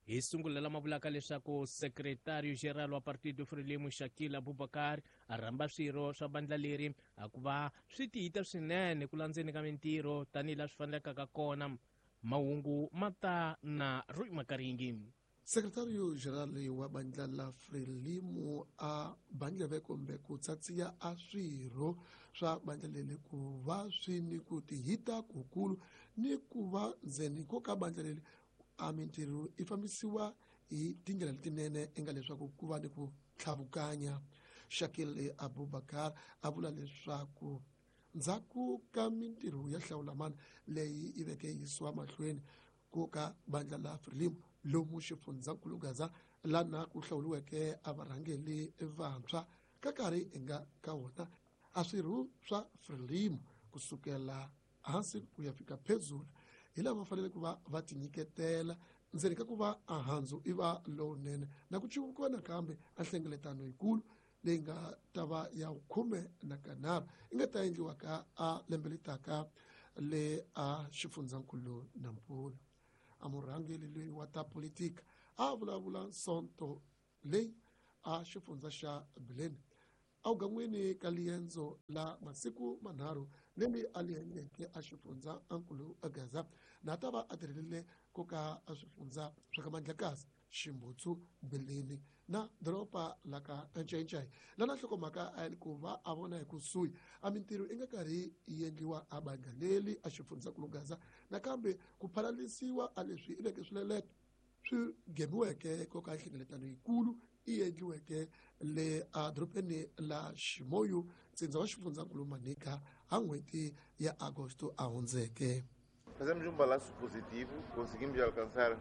Hi sungula lama vulaka leswaku Secretario Geral wa Partido Frelimo Shakil Abubakar a rhamba swirho swa bandla leri a ku va swi tiyita swinene ku landzeni ka mintirho tanihi laha swi fanelekaka kona. Mahungu ma ta na Roy Makaringi. Secretario General wa bandla la Frelimo a bandleve kumbe ku tsatsiya a swirho swa bandla leri ku va swi ni ku tihita kukulu ni ku va ndzeni ko ka bandla leri a mintirho yi fambisiwa hi tindlela letinene enga leswaku ku va ni ku tlhavukanya. Shakil Abubakar a vula leswaku ndzhaku ka mintirho ya hlawulamani leyi yi veke yisiwa mahlweni ku ka bandla la Frelimo lomu xifundzankulu Gaza lana ku hlawuriweke a varhangeli vantshwa ka karhi hi nga ka wona a swirho swa Frelimo kusukela hansi ku ya fika phezulu hi lava fanele ku va va tinyiketela ndzeni ka ku va a handzu i va lowunene na ku civukiwa nakambe a nhlengeletano yikulu leyi nga ta va ya 13 yi nga ta endliwa ka a lembe letaka le a xifundzankulu Nampula. A murhangeri loyi wa ta politika a vulavula sonto leyi a xifundza xa Bileni awugan'wini ka liendzo la masiku manharhu leri a li endleke a xifundza ankulu Gaza na ta va a tirhelile ku ka a swifundza swa ka Mandlakazi, Ximbutsu, Bileni na doroba la ka Ncayincai. Lana nhlokomhaka a yi ku va a vona hi kusuhi a mintirho yi nga karhi yi endliwa a bandla leri a xifundzankulu Gaza nakambe ku phalalisiwa a leswi i veke swileleto swi gemiweke ko ka nhlengeletano yikulu yi endliweke le adorobeni la Ximoyu, ntsindza wa xifundzankulu Manica, ha n'hweti ya Agosto a hundzeke. Fazemos balanço positivo, conseguimos alcançar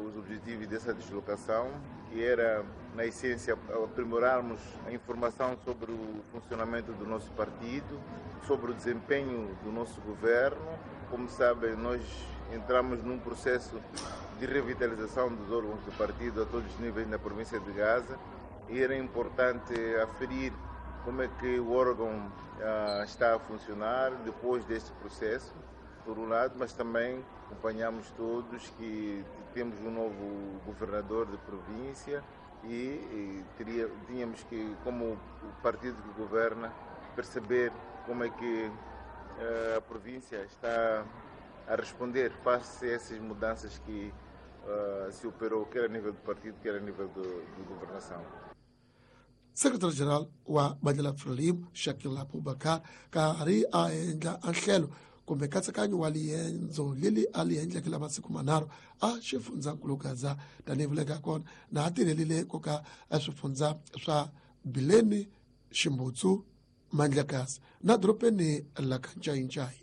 os objetivos dessa deslocação, que era, na essência, aprimorarmos a informação sobre o funcionamento do nosso partido, sobre o desempenho do nosso governo. Como sabem, nós entramos num processo de revitalização dos órgãos do partido a todos os níveis na província de Gaza e era importante aferir como é que o órgão está a funcionar depois deste processo, por um lado, mas também acompanhamos todos que temos um novo governador de província e tínhamos que, como o partido que governa, perceber como é que a província está a responder face a essas mudanças que se operou, quer a nível do partido, quer a nível de governação. Secretary-General wa bandla la Frelimo Shakil Abubakar karhi a endla a nhlelo kumbe nkatsakanyo wa liendzo leri a li endleke la masiku manharhu a xifundzankulu Gaza tanihi vuleka kona na a tirhelile ku ka a swifundza swa Bileni, Ximbutsu, Mandlakazi na dorobeni la ka Ncayincayi.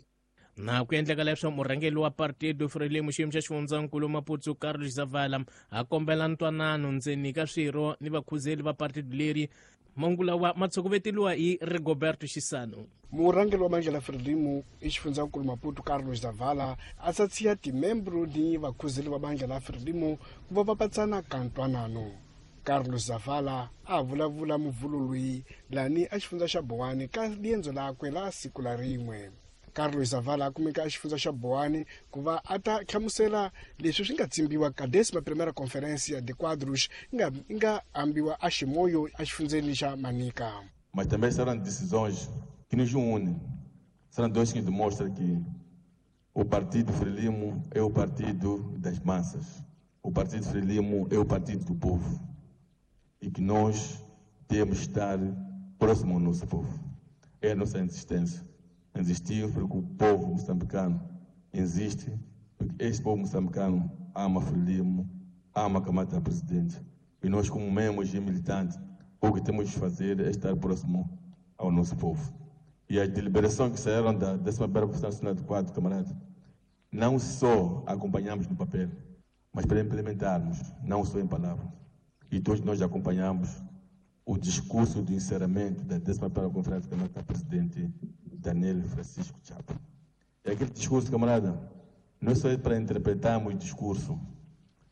Na ku endleka leswo murhangeri wa Partido Frelimo xiyimo xa xifundzankulu Maputo Carlos Zavala a kombela ntwanano ndzeni ka swirho ni vakhuzeli va partido leri. Mahungu lawa ma tshokoveteliwa hi Rigoberto Xisano. Murhangeri wa bandla la Frelimo i xifundzankulu Maputo Carlos Zavala a tsatsiya timembro ni vakhuzeli va bandla la Frelimo ku va va patsana ka ntwanano. Carlos Zavala a vulavula muvhulo loyi lani a xifundza xa Boane ka liendzo lakwe la siku la rin'we. Carlos Zavala a kumeka a xifundza xa Boane ku va a ta hlamusela leswi swi nga tsimbiwa ka décima primeira conferência de quadros yi nga ambiwa a Ximoyo a xifundzeni xa Manica. Mas também serão decisões que nos unem. Serão dois que demonstram que o Partido Frelimo é o partido das massas. O Partido Frelimo é o partido do povo. E que nós temos que estar próximo ao nosso povo. É a nossa insistência. Insistir porque o povo moçambicano insiste, porque este povo moçambicano ama Frelimo, ama Camata Presidente. E nós, como membros e militantes, o que temos de fazer é estar próximo ao nosso povo. E as deliberações que saíram da 11ª Conferência Nacional de Quadro, camarada, não só acompanhamos no papel, mas para implementarmos, não só em palavras. E todos nós acompanhamos o discurso de encerramento da 11ª Conferência do Presidente Daniel Francisco Chapo. É aquele discurso, camarada, não é só para interpretarmos o discurso,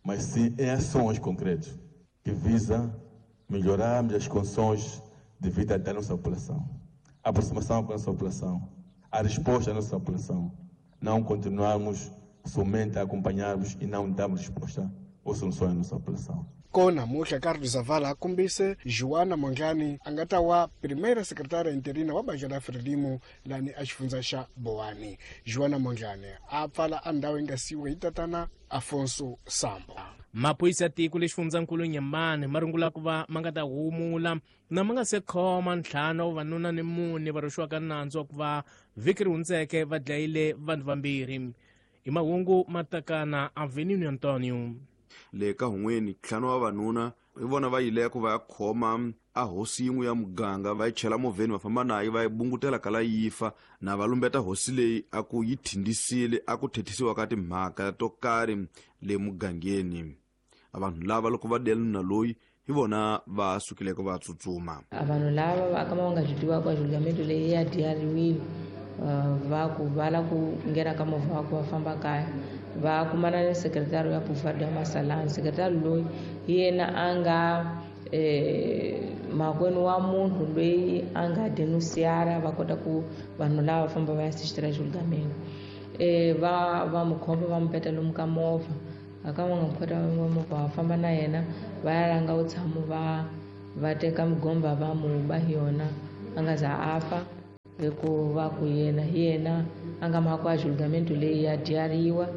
mas sim em ações concretas que visam melhorarmos as condições de vida da nossa população, a aproximação com a nossa população, a resposta da nossa população. Não continuarmos somente a acompanharmos e não darmos resposta ou soluções à nossa população. Kona muhla Carlos Zavala a kombise Joana Mondlane a nga ta wa primeira secretária interina wa bandla la Frelimo lani a xifundza xa Boane. Joana Mondlane a pfala a ndhawu yi nga siyiwa hi tatana Afonso Sambo. Maphorisa ya tiko lexifundzankulu Nyembane ma rungula ku va ma nga ta humula na ma nga se khoma ntlhanu wa vavanuna ni mune va rhwexiwaka nandzu wa ku va vhiki ri hundzeke va dlayile vanhu vambirhi. I mahungu ma takana Avenue Antonio. Le ka hun'weni ntlhanu wa vavanuna hi vona va yileko va ya khoma a hosi yin'we ya muganga, va yi chela movheni va famba nayo va yi bungutela kala yi fa, na va lumbeta hosi leyi a ku yi thindisile a ku thethisiwa ka timhaka to karhi le mugangeni. A vanhu lava loko va dela nuna loyi hi vona va sukileko va tsutsuma. A vanhu lava va kama va nga swi tivaka a julgamento leyi ya diyariwile, va ku va la ku nghena ka movha wa ku va famba kaya, va kumana ni sekretari ya Pouvoir ya Masalani. Sekretari loyi hi yena a nga makwenu wa munhu loyi a nga denunciara, va kota ku vanhu lava famba va ya assistira julgamento. Va mu khoma va mu peta lomu ka movha, a ka va nga mu khota movha va famba na yena va ya langa u tshama va teka migomba va mu ba hi yona a nga za a fa. Hikuva ku yena hi yena a nga mhaka a julgamento leyi ya dyariwa,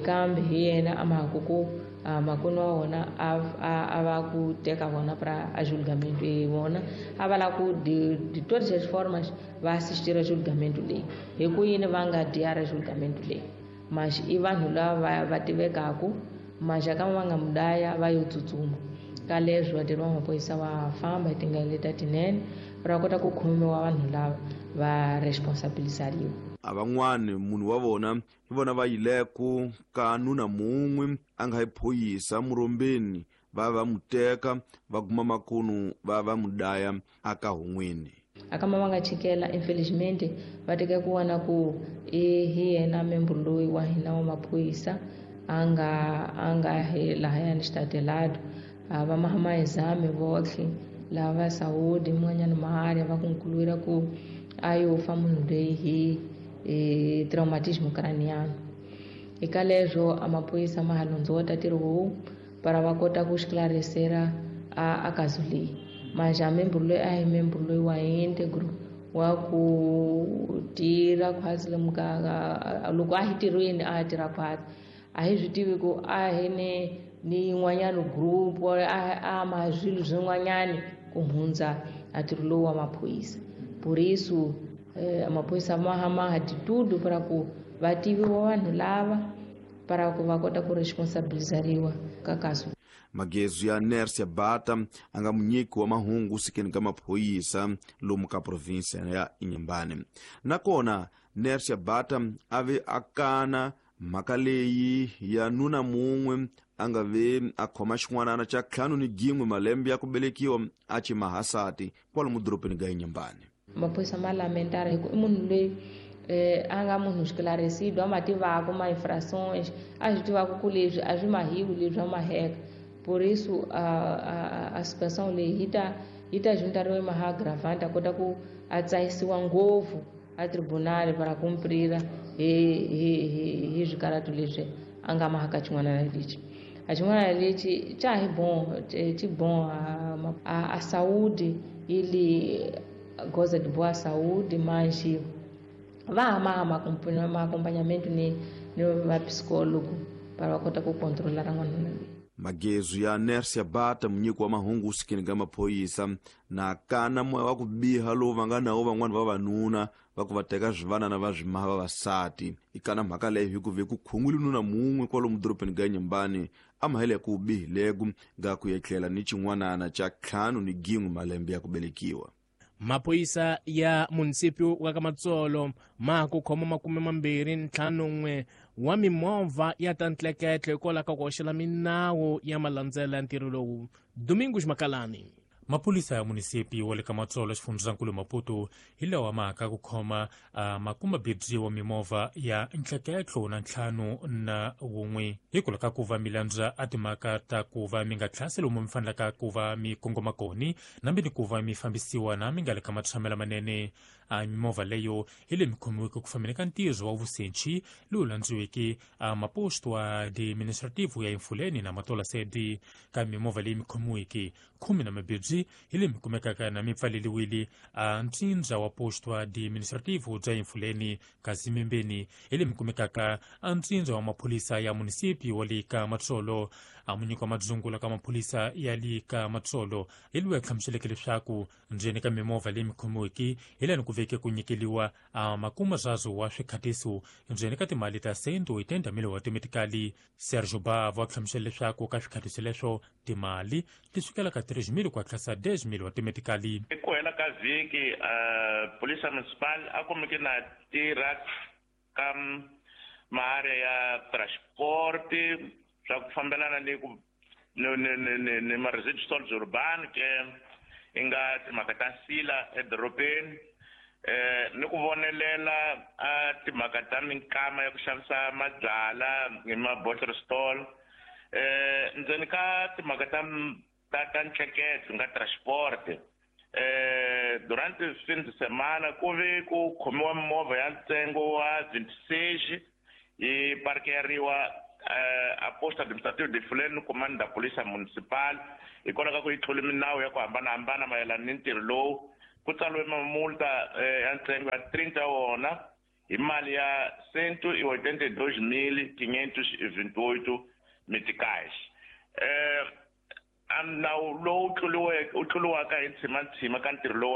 kambe hi yena a mhaka ku makwenu wa wona a va ku teka vona pra a julgamento e vona a va la ku de todas as formas va assistira julgamento leyi. Hi ku yini va nga dyara julgamento leyi? Mas i vanhu lava va tivekaku, mas kama va nga mudaya va yo tsutsuma. Ka leswi vatirhi va maphorisa va famba hi tindlela leti tinene va kota ku khomiwa vanhu lava va responsabilizariwa. A van'wani munhu wa vona hi vona va yileko ka nuna mun'we a nga hi phoyisa murombeni, va va mu teka va guma makunu va va mu daya aka hun'wini. Akama va nga chikela infelizmente va teka ku vona ku hi yena membro loyi wa hina wa maphorisa a nga hi lahayani xitatelado. Va mahamazame votlhe lava Saudi mun'wanyana maharya va ku nkulwira ku a yo fa munhu loyi hi traumatismo craniano. Eka leswo a maphorisa ma ha londzota ntirho lowu para va kota ku xiklarisera a kazu leyi. Mas a membro loyi a hi membro loyi wa integro wa ku tirha khwatsi lomu ka loko a hi tirhweni a tirha khwatsi a hi swi tivi ku a hi ni yin'wanyana group a ma swilo swin'wanyani ku hundza a ntirho lowu wa maphorisa. Por isso maphorisa ma hama de tudo para ku va tiviwa vanhu lava para ku va kota ku responsabilizariwa ka kaso. Magezu ya Nersia Bata a nga munyiki wa mahungu sikeni ka maphorisa lomu ka provinsia ya Inhambane. Nakona Nersia Bata a ve a kana mhaka leyi ya nuna mun'we a nga ve a khoma xin'wanana xa 51 malembe ya ku velekiwa a ci mahasati kwalomu dorobeni ga Inhambane. Maphorisa ma lamentara hi ku i munhu loyi a nga munhu xikilarisido a ma tivaka ma infrações, a swi tivaka ku leswi a swi mahiwi leswi a maheka. Por isso a situação leyi yi ta juntariwa maha agravante a kota ku a tsahisiwa ngopfu a tribunal para cumprira hi swikaratu leswi a nga mahaka xin'wana lexi. A xin'wana lexi xa hi bon xi bon a saúde ele goza de boa saúde, mas va hama ma acompanhamento ni va psicólogo para va kota ku controlar n'wana loyi. Magezu ya Nersia Bata munyiki wa mahungu sikeni ka maphorisa na kana moya wa ku biha lowu va nga nawo van'wani vavanuna va ku va teka swivanana va swimaha vavasati. I kana mhaka leyi hi ku ve ku khungwile nuna mun'we kwalomu dorobeni ga Inhambane a mahele ku bihileko ga ku etlela ni xin'wanana xa 51 malembe ya ku velekiwa. Maphorisa ya munisipyu wa ka Matsolo ma ku khoma 251 wa mimovha ya ta ntleketle hikwalaho ka ku hoxela minawu ya malandzela ya ntirho lowu. Domingos Makalani. Maphorisa ya munisipi wa le ka Matsolo xifundzankulu Maputo hi lawa maka ku khoma makumabirhi wa mimovha ya ntleketlo na 51 hikwalaho ka ku va mi landza a timhaka ta ku va mi nga tlhasi lomu mi fanelaka ku va mi kongoma koni nambi ni ku va mi fambisiwa na mi nga le ka matshamelo manene. A mimovha leyo hi leyi mi khomiweke ku fambeni ka ntirho wa vusenchi lowu landziweke a maposto a administrativo ya Emfuleni na Matola Sede. Ka mimovha leyi mi khomiweke 12 hi leyi mi kumekaka na mi pfaleliwile a ntsindza wa posto administrativo bya Emfuleni, kasi mimbeni hi leyi mi kumekaka a ntsindza wa maphorisa ya munisipi wa le ka Matsolo. A munyiki wa madzungula ka maphorisa ya le ka Matsolo hi loyi a hlamuseleke leswaku ndzeni ka mimovha leyi mi khomiweke hi laha ku veke ku nyikeliwa a makuma swazo wa swikhatiso ndzeni ka timali ta 180,000 wa timetikali. Sergio Bavo a hlamusela leswaku ka swikhatiso leswo timali ti sukela ka 3,000 ku hatlasa 10,000 wa timetikali. Ku hela ka vhiki polisa municipal a kumeke na tirha ka maarea ya transport swa ku fambelana ni ku ni ma-residual urban ke i nga timhaka ta nsila edorobeni, ni ku vonelela a timhaka ta minkama ya ku xavisa mabyala hi ma-bottle stall, ndzeni ka timhaka ta ntleketlo nga transport. Durante fin de semana ku ve ku khomiwa mimovha ya ntsengo wa 26 yi parkeriwa a posto administrativo de Fuleni comando da polícia municipal hikwalaho ka ku yi tlule minawu ya ku hambanahambana mayelana ni ntirho lowu. Ku tsariwe mamulta ya ntsengo ya 30 wona hi mali ya 182,528 meticais. Nawu lowu tluriwaka hi ntshima ka ntirho lowu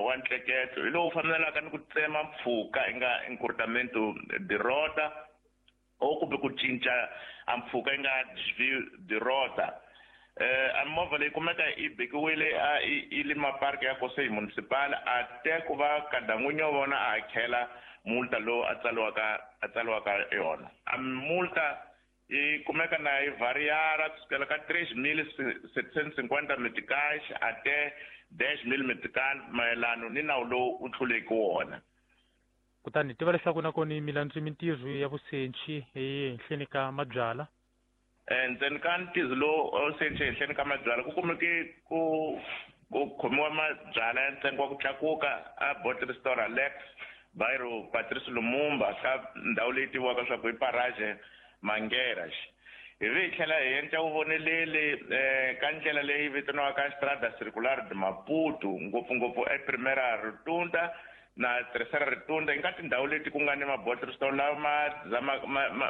wa ntleketlo hi lowu fambelaka ni ku tsema mpfhuka i nga encurtamento de rota o kumbe ku cinca a mpfhuka i nga desvio de rota. A movha leyi kumeka yi bekiwile a i le mapark ya Conselho Municipal a te ku va kadan'winyi wa vona a hakela multa lowu a tsaliwaka yona. A multa yi kumeka na yi variara kusukela ka 3,750 meticais ate 10,000 metical mayelano ni nawu lowu u tluleke wona. Kutani tiva leswaku nakona mi landzi mintirho ya vusenchi ehenhleni ka mabyala. Ndzeni ka ntirho lowu senchi ehenhleni ka mabyala ku kumeke ku khomiwa mabyala ya ntsengo wa ku tlakuka a bottle store Alex Bairro Patrice Lumumba ka ndhawu leyi tiviwaka swa ku i Parage Mangueiras. Hi vi hi tlhela hi endla vuvoneleli ka ndlela leyi vitaniwaka Estrada Circular de Maputo, ngopfungopfu ePrimeira Rotunda na Terceira Rotunda, nga tindhawu leti ku nga ni ma-bottle store lawa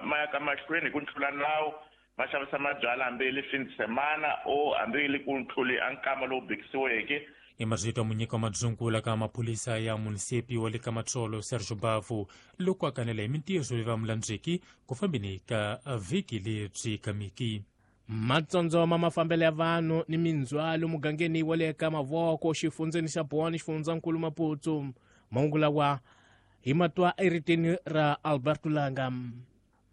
ma ya ka mahlweni hi ku tlula nawu, ma xavisa mabyala hambi hi le fin de semana o hambi hi le ku tluli a nkama lowu bekisiweke. I mazito munyika wa madzungula ka maphorisa ya munisipi wa le ka Matsolo Sergio Bavo loko a kanela hi mintirho leyi va mulandzeki ku fambeni ka vhiki lebyi kamiki. Matsondzo ma mafambelo ya vanhu ni mindzhwalo mugangeni wa le ka Mavoko xifundzeni xa Boane xifundzankulu Maputo. Mahungu lawa hi matwa eritini ra Alberto Langa.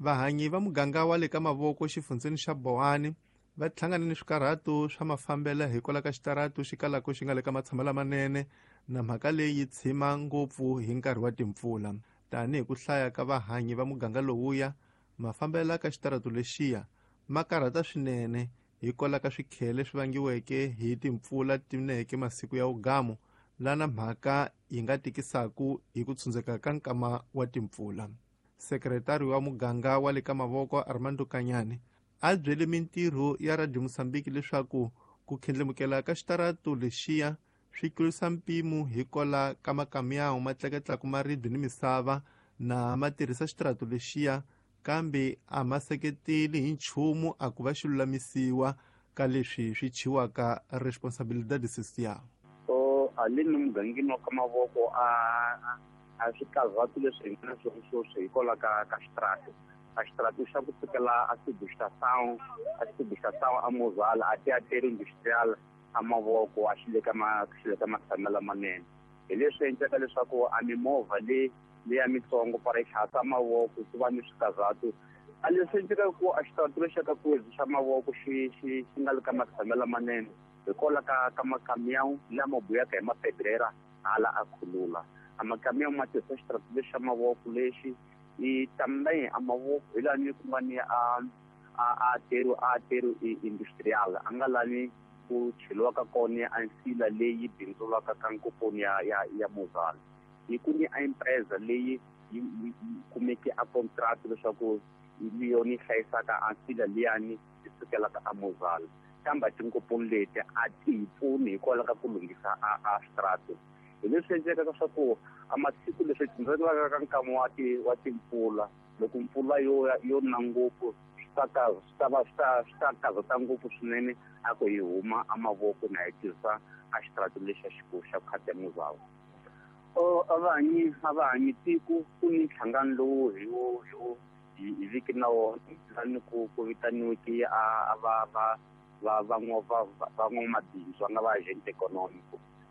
Vahanyi va muganga wa le ka Mavoko xifundzeni xa Boane va hlangane ni swikarhato swa mafambelo hikwalaho ka xitaratu xi kalaka xi nga le ka matshamo lamanene na mhaka leyi yi tshima ngopfu hi nkarhi wa timpfula. Tanihi ku hlaya ka vahanyi va muganga lowuya, mafambelo ka xitaratu lexiya ma karhata swinene hikwalaho ka swikhele swi vangiweke hi timpfula tineke masiku ya ugamu, lana mhaka yi nga tikisaku hi ku tshundzeka ka nkama wa timpfula. Sekretari wa muganga wa le ka Mavoko Armando Kanyane a byele mintirho ya Radio Mozambique leswaku ku khendlemukela ka xitaratu lexiya swi tlurisa mpimo hikwalaho ka makamiyawu ma tleketlaka maribye ni misava na ma tirhisa xitaratu lexiya, kambe a ma seketeli hi nchumu a ku va xi lulamisiwa ka leswi swi chiwaka responsabilidade social. So haleni mugangeni wa ka Mavoko a swikarhatu leswi hi nga na swona sweswi hikwalaho ka xitaratu. A xitaratu xa ku sukela a Subestação, a Mozala, a Teatro Industrial a Mavoko a xi le ka matshamelo lamanene. Hi leswi endlaka leswaku a mimovha leya mitsongo para yi tlhasa Mavoko ku va ni swikarhatu A leswi endlekaka ku a xitaratu lexi ka Kwezi xa mavoko xi xi xi nga le ka matshamelo lamanene hikwalaho ka makamiyawu lama buyaka hi mapedrera hala a khulula. A makamiyawu ma tirhisa xitaratu lexi xa mavoko lexi i também a mavoko hi lani ku nga ni a aterro industrial a nga lani ku cheliwaka kona a nsila leyi bindzulaka ka nkoponi ya Mozal. Hi ku ni a empresa leyi yi kumeke a contract leswaku hi yona yi hlayisaka a nsila liyani yi sukelaka a Mozal. Kambe tinkoponi leti a ti hi pfuni hikwalaho ka ku lunghisa a xitaratu. Hi leswi endlekaka swa ku a masiku leswi tindzelaka ka nkama wa timpfula, loko mpfula yo na ngopfu swi ta karhata ngopfu swinene a ku hi huma a mavoko na hi tirhisa a xitaratu lexi xa khata Mozal. A va hanyi tiko ku ni nhlangano lowu hi wo hi viki na wona lani ku vitaniweke a va van'wamabindzu va nga va agent economic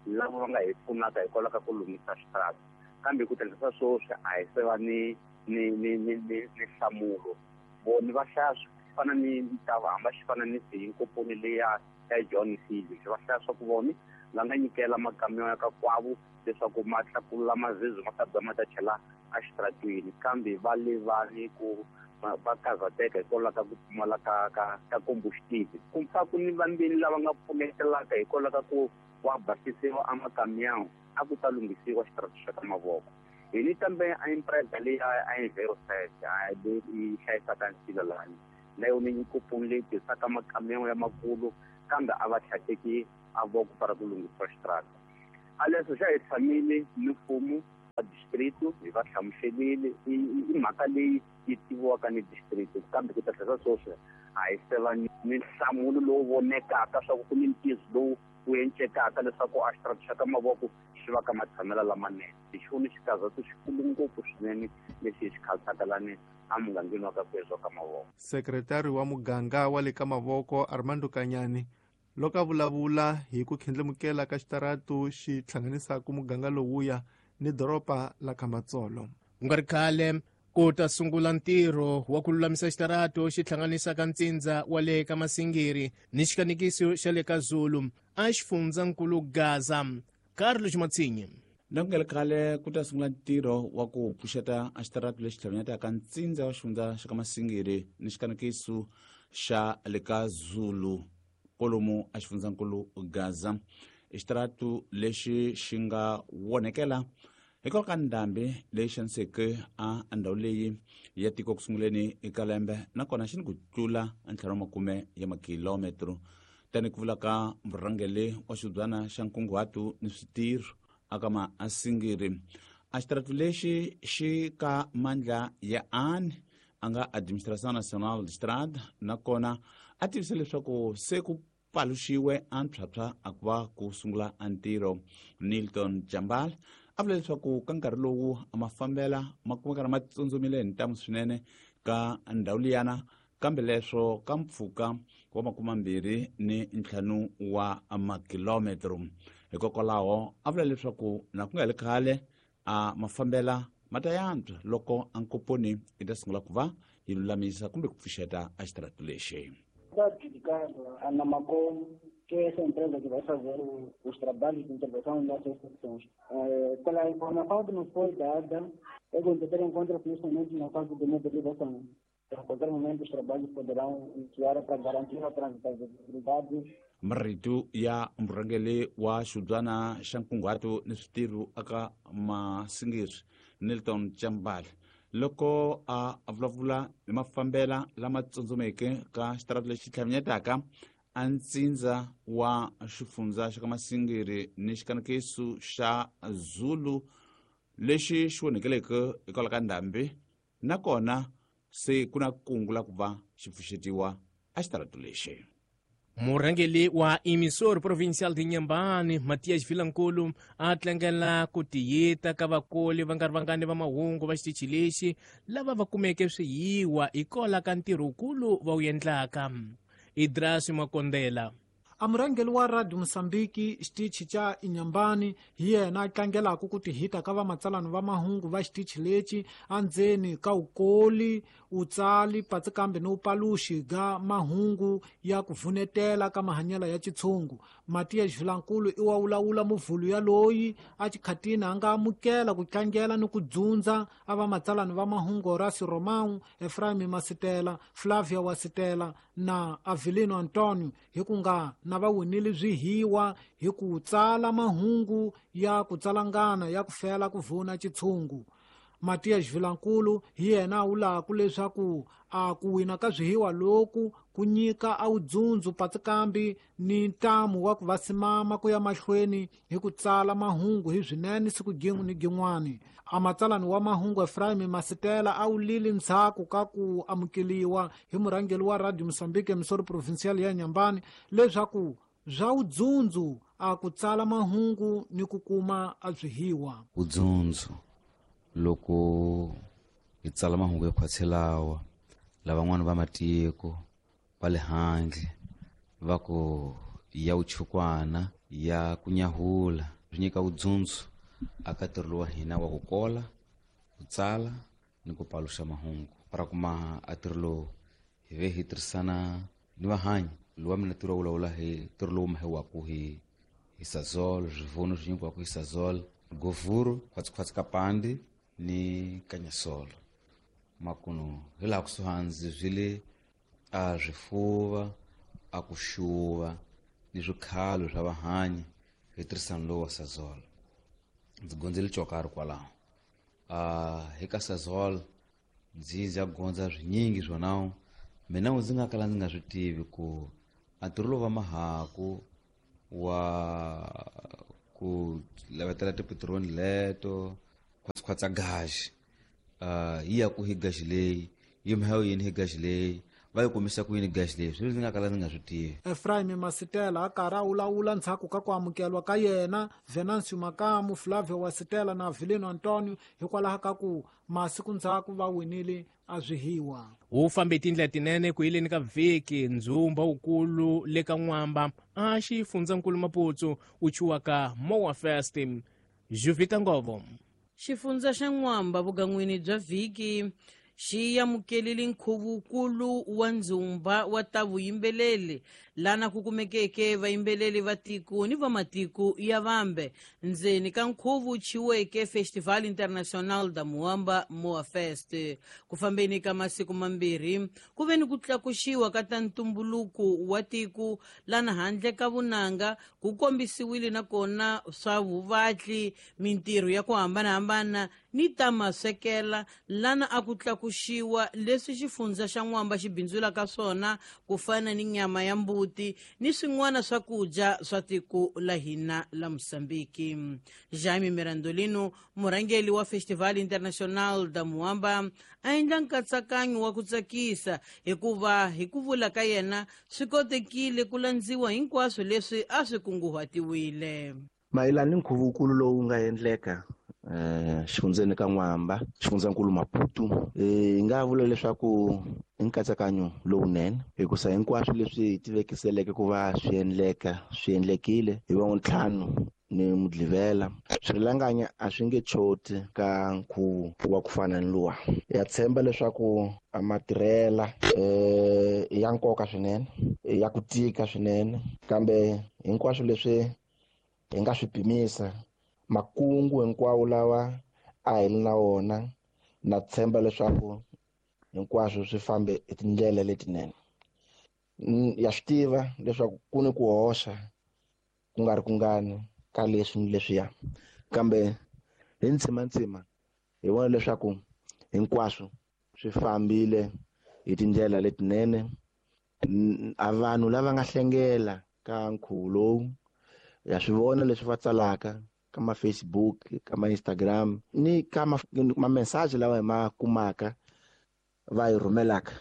lava va nga hi pfunaka hikwalaho ka ku lunghisa xitaratu. Kambe ku tirhisa sweswi a hi se va ni nhlamulo. Vona va hlaya swi fana ni ntava hamba xi fana ni siyinkoponi leya ya John Seale. Va hlaya swa ku vona va nga nyikela makamiyo ya ka kwavo leswaku ma tlakula mazizi ma ta ba ma ta chela exitaratwini, kambe va le va ni ku va karhateka hikwalaho ka ku pfumala ka combustible. Ku pfa ku ni vambeni lava nga pfunetelaka hikwalaho ka ku wa basisiwa a makamiyawu a ku ta lunghisiwa xitaratu xa ka mavoko. Hi ni kambe a empresa leyi a Enviroset leyi hlayisaka nsila lani na yona yi nkoponi leyi tirhisaka makamiyawu ya makulu, kambe a va tlhateki a voko para ku lunghisiwa xitaratu. A leswi xa hi tshamile ni mfumo wa district hi va hlamuselile i mhaka leyi yi tiviwaka ni district, kambe ku ta tlhela sweswi a hi se va ni nhlamulo lowu vonekaka swa ku ni ntiyiso lowu wu encekaka leswaku a xitaratu xa ka mavoko xi va ka matshamelo lamanene. Hi xona xikarhatu xikulu ngopfu swinene lexi hi xi khansaka lani a mugangeni wa ka Kwezi wa ka mavoko. Sekretari wa muganga wa le ka mavoko Armando Kanyani loko a vulavula hi ku khendlemukela ka xitaratu xi hlanganisaka muganga lowuya ni doroba la Khamatsolo. Ku nga ri khale ku ta sungula ntirho wa ku lulamisa xitaratu xi hlanganisaka ntsindza wa le ka Masingiri ni xikanikiso xa le ka Zulu a xifundzankulu Gaza. Carlos Matsinyi. Na ku nga ri khale ku ta sungula ntirho wa ku pfuxeta a xitaratu lexi hlanganyetaka ntsindza wa xifundza xa ka Masingiri ni xikanikiso xa le ka Zulu kolomu a xifundzankulu Gaza. Xitaratu lexi xi nga wonekela hikwalaho ka ndhambi leyi xaniseke a ndhawu leyi ya tiko ku sunguleni eka lembe, nakona xi ni ku tlula 50 ya makilometro. Tani ku vula ka murhangeri wa xibyana xa nkunguhato ni switirho aka Masingiri, a xitaratu lexi xi ka mandla ya ANE a nga Administração Nacional de Estrada, nakona a tivisa leswaku se ku paluxiwe a ntshwatshwa a ku va ku sungula a ntirho. Nilton Jambal a vula leswaku ka nkarhi lowu a mafambela ma kumeka ma tsundzumile hi ntamu swinene ka ndhawu liyana, kambe leswo ka mpfhuka wa 25 wa makilometro. Hikokwalaho a vula leswaku na ku nga ri khale a mafambela ma ta yantswa loko a nkoponi yi ta sungula ku va yi lulamisa kumbe ku pfuxeta a xitaratu lexi. Está adjudicado a Namacom, que é essa empresa que vai fazer os trabalhos de intervenção nessas secções. Pela informação que nos foi dada, é que ter em conta que neste momento na fase de mobilização. A qualquer momento os trabalhos poderão iniciar para garantir a transitabilidade. Marito ya murhangeri wa xibyana xa nkunguhato ni switirho aka Masingiri Nilton Chambal loko a vulavula hi mafambela lama tsundzumeke ka xitaratu lexi tlhavinyetaka a ntsindza wa xifundza xa ka Masingiri ni xikanikiso xa Zulu lexi xi onekeleke hikwalaho ka ndhambi, nakona se ku na kungu la ku va xi pfuxetiwa a xitaratu lexi. Murhangeri wa Emissor Provincial de Inhambane, Matias Vilankulu, a tlangela ku tiyita ka vakoli va nga ri vangani va mahungu va xitichi lexi lava va kumeke swiyiwa hikwalaho ka ntirho wukulu va wu endlaka. Idras Makondela. A murhangeri wa Radio Mozambique xitichi xa Inhambane hi yena a tlangelaka ku tihita ka vamatsalani va mahungu va xitichi lexi andzeni ka ukoli utsali patsi kambe ni upaluxi ga mahungu ya ku vunetela ka mahanyelo ya xitshungu. Matias Vilankulu i wa wulawula muvhulu ya loyi a xikhatini a nga amukela ku tlangela ni ku dzundza a vamatsalani va mahungu Horacio Romão, Efraim Masitela, Flavia Wasitela na Avelino Antonio hi ku nga na va winile swihiwa hi ku tsala mahungu ya ku tsalangana ya ku fela ku vuna xitshungu. Matias Vilankulu hi yena a vulaka leswaku a ku wina ka swihiwa loku ku nyika a wudzundzu patsi kambi ni ntamu wa ku va simama ku ya mahlweni hi ku tsala mahungu hi swinene siku gin'we ni gin'wani. A matsalani wa mahungu Efraim Masitela a wulile ndzhaku ka ku amukeliwa hi murhangeri wa Radio Mozambique emisoro provincial ya Inhambane leswaku swa wudzundzu a ku tsala mahungu ni ku kuma a swihiwa. Wudzundzu loko hi tsala mahungu ya khwatselawa lavan'wana va matiko va le handle va ku ya vuchukwana ya ku nyahula swi nyika vudzundzu aka ntirho lowa hina wa ku kola ku tsala ni ku paluxa mahungu ra kuma a ntirho lowu hi ve hi tirhisana ni vahanyi lowa mina ntirho wa vulavula hi ntirho lowu mahiwaku hi Sazol swivuno swi nyikiwaku hi Sazol govhuru khwatsikhwatsi ka pandi ni kanyasolo makuno hi laha kusuhani swi le a swifuva a ku xuva ni swikhalo swa vahanyi hi tirhisano lowu wa Sazol. Ndzi gondzile cokari kwalaho hi ka Sazol ndzi ya gondza swinyingi swona mina ndzi nga kala ndzi nga swi tivi ku a ntirho lowu va mahaku wa ku lavetela tipetiroli leto khwatsikhwatsa gaxi yi ya ku hi gaxi leyi yi mhayo yini hi gaxi leyi va yi kumisa ku yini gaxi leyi swilo ndzi nga kala ndzi nga swi tivi. Efraim Masitela a karhi a wulawula ndzhaku ka ku amukeliwa ka yena Venancio Makamu, Flavio Wasitela na Avelino Antonio hikwalaho ka ku masiku ndzhaku va winile a swihiwa. Wu fambe tindlela tinene ku yileni ka vhiki ndzumba wukulu le ka N'wamba a xifundzankulu Maputo wu chuwaka Moa Fest. Juvita Ngovo. Xifundza xa N'wamba vugan'wini bya vhiki xi amukelile nkhuvukulu wa ndzumba wa ta vuyimbeleli lana ku kumekeke vayimbeleli va tiko ni va matiko ya vambe ndzeni ka nkhuvu chiweke Festival International da Muamba Moa Fest. Ku fambeni ka masiku mambirhi ku ve ni ku tlakuxiwa ka ta ntumbuluko wa tiko lana handle ka vunanga ku kombisiwile nakona swa vuvatli mintirho ya ku hambanahambana ni ta maswekela lana a ku tlakuxiwa leswi xifundza xa N'wamba xi bindzulaka swona ku fana ni nyama ya mbuti ni swin'wana swakudya swa tiko la hina la Mozambique. Jaime Mirandolino murhangeri wa Festival International da Muamba a endla nkatsakanyo wa ku tsakisa hikuva hi ku vula ka yena swi kotekile ku landziwa hinkwaswo leswi a swi kunguhatiwile. Mayelana ni nkhuvukulu lowu nga endleka xifundzeni ka N'wamba xifundzankulu Maputo hi nga vula leswaku i nkatsakanyo lowunene hikusa hinkwaswo leswi hi tivekiseleke ku va swi endleka swi endlekile hi wa ntlhanu ni mudlivela swirhilanganya a swi nge choti ka nkhuvo wa ku fana ni luwa. Ya tshemba leswaku a matirhela ya nkoka swinene ya ku tika swinene kambe hinkwaswo leswi hi nga swi pimisa makungu hinkwawo lawa a hi ri na wona na tshemba leswaku hinkwaswo swi fambe hi tindlela letinene. Ya swi tiva leswaku ku ni ku hoxa ku nga ri kungani ka leswi ni leswiya kambe hi ntsimantsima hi vona leswaku hinkwaswo swi fambile hi tindlela letinene. A vanhu lava nga hlengela ka nkhuvo lowu ya swi vona leswi va tsalaka ka ma Facebook ka ma Instagram ni ka ma message lawa hi ma kumaka va yi rhumelaka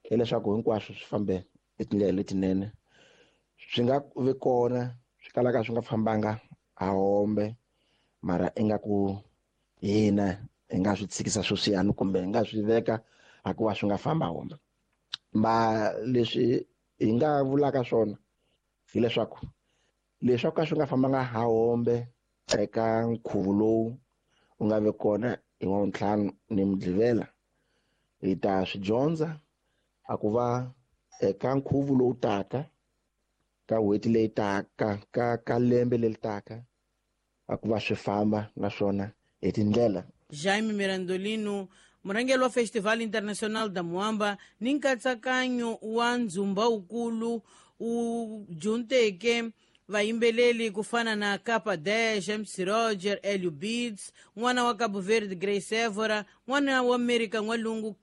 hileswaku hinkwaswo swi fambe hi tindlela letinene swi nga vi kona swi kalaka swi nga fambanga a hombe mara ingaku hina hi nga swi tshikisa sweswiyani kumbe hi nga swi veka hikuva swi nga famba hombe. Ma leswi hi nga vulaka swona Hileswaku leswi ka swi nga fambanga hahombe eka nkhuvo lowu wu nga ve kona hi Wavuntlhanu ni Mugqivela, hi ta swi dyondza a ku va eka nkhuvo lowu taka ka n'hweti leyi taka ka lembe leri taka a ku va swi famba naswona hi tindlela. Jaime Mirandolino, murhangeri wa Festival Internacional da Moamba ni nkatsakanyo wa ndzumba wukulu wu junteke vayimbeleli ku fana na Capa 10, MC Roger, Elio Beats, n'wana wa Cabo Verde Grace Evora, n'wana wa America n'walungu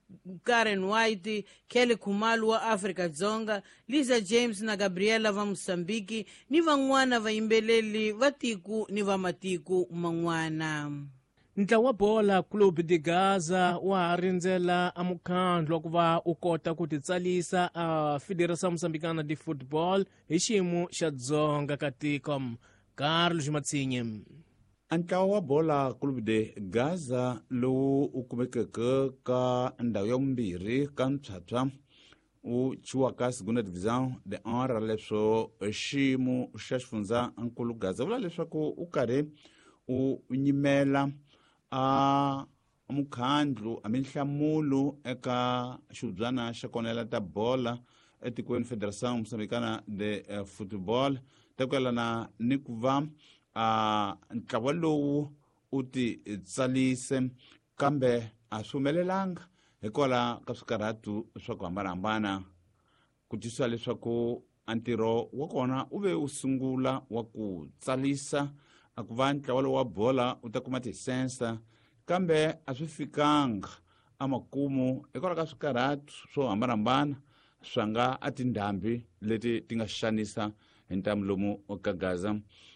Karen White, Kelly Khumalo wa Afrika Dzonga, Lisa James na Gabriela va Mozambique ni van'wana vayimbeleli va tiko ni va matiko man'wana. Ntlawa wa bola Clube de Gaza wa ha rindzela a mukhandlu wa ku va u kota ku titsalisa a Federação Moçambicana de Football hi xiyimo xa dzonga ka tiko. Carlos Matsinye. A ntlawa wa bola Clube de Gaza lowu u kumekeke ka ndhawu ya vumbirhi ka mphyaphywa u chiwaka Segunda Divisão de Honra, leswo xiyimo xa xifundza nkulu Gaza vula leswaku u karhi u nyimela a mukhandlu a minhlamulo eka xibyana xa konela ta bola etikweni Federação Moçambicana de Futebol ta ku yelana ni ku va a ntlawa lowu u ti tsalise, kambe a swi humelelanga hikwalaho ka swikarhatu swa ku hambanahambana. Ku twisisa leswaku a ntirho wa kona u ve u sungula wa ku tsalisa a ku va ntlawa lowu wa bola u ta kuma tisensa, kambe a swi fikanga amakumu hikwalaho ka swikarhatu swo hambanahambana swa nga a tindhambi leti ti nga xanisa hi ntamu lomu ka Gaza.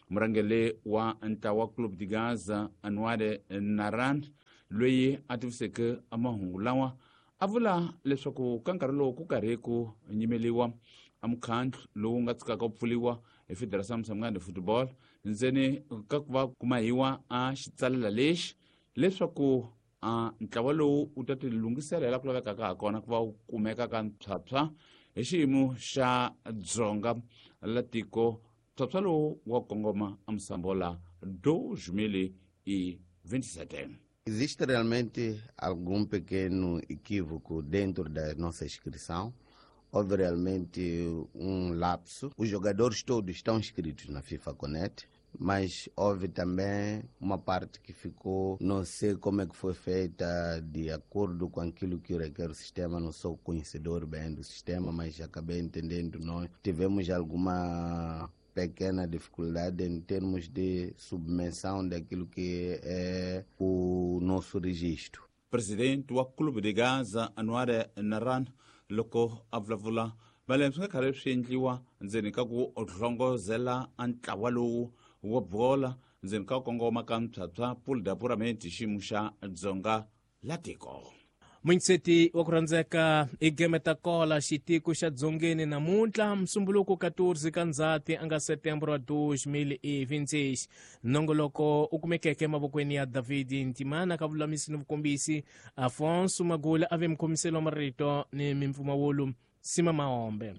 Murhangeri wa ntlawa Clube de Gaza Anwar Naran, loyi a tiviseke mahungu lawa, a vula leswaku ka nkarhi lowu ku karhi ku nyimeliwa a mukhandlu lowu nga tshikaka ku pfuliwa hi Federação Moçambicana de Futebol ndzeni ka ku va kumahiwa a xitsalela lexi leswaku a ntlawa lowu u ta ti lunghisela la ku lavekaka ha kona ku va wu kumeka ka mphyaphywa hi xiyimo xa dzonga la tiko. Mphyaphywa lowu wa kongoma a Moçambola 2027. Existe realmente algum pequeno equívoco dentro da nossa inscrição? Houve realmente um lapso. Os jogadores todos estão inscritos na FIFA Connect, mas houve também uma parte que ficou, não sei como é que foi feita, de acordo com aquilo que requer o sistema. Não sou conhecedor bem do sistema, mas acabei entendendo. Nós tivemos alguma pequena dificuldade em termos de submissão daquilo que é o nosso registro. Presidente wa Clube de Gaza Anwar Naran loko a vulavula vale swi nga karhi swi endliwa ndzeni ka ku hlongozela a ntlawa lowu wa bola ndzeni ka kongoma ka mphyaphywa pool d'apuramento xiyimo xa dzonga la tiko. Munyiseti wa ku rhandzeka i gemeta kola xitiko xa dzongeni namuntlha Musumbuluko 14 ka Ndzhati a nga Setembro wa 2026. Nongoloko u kumekeke emavokweni ya David Ntimana ka vululamisi ni vukombisi, Afonso Magula a ve mukhomiseli wa marito ni mimpfumawulo Sima Maombe.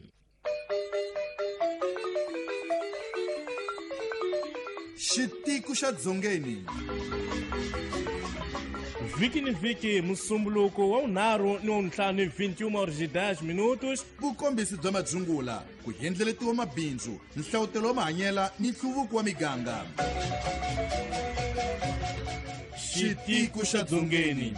Xitiko xa dzongeni vhiki ni vhiki Musumbuluko wa vunharhu ni wa vuntlhanu 21h10 minutos. Vukombisi bya madzungula, ku endleletiwa mabindzu, nhlavutelo wa mahanyela ni nhluvuko wa miganga. Xitiko xa dzongeni.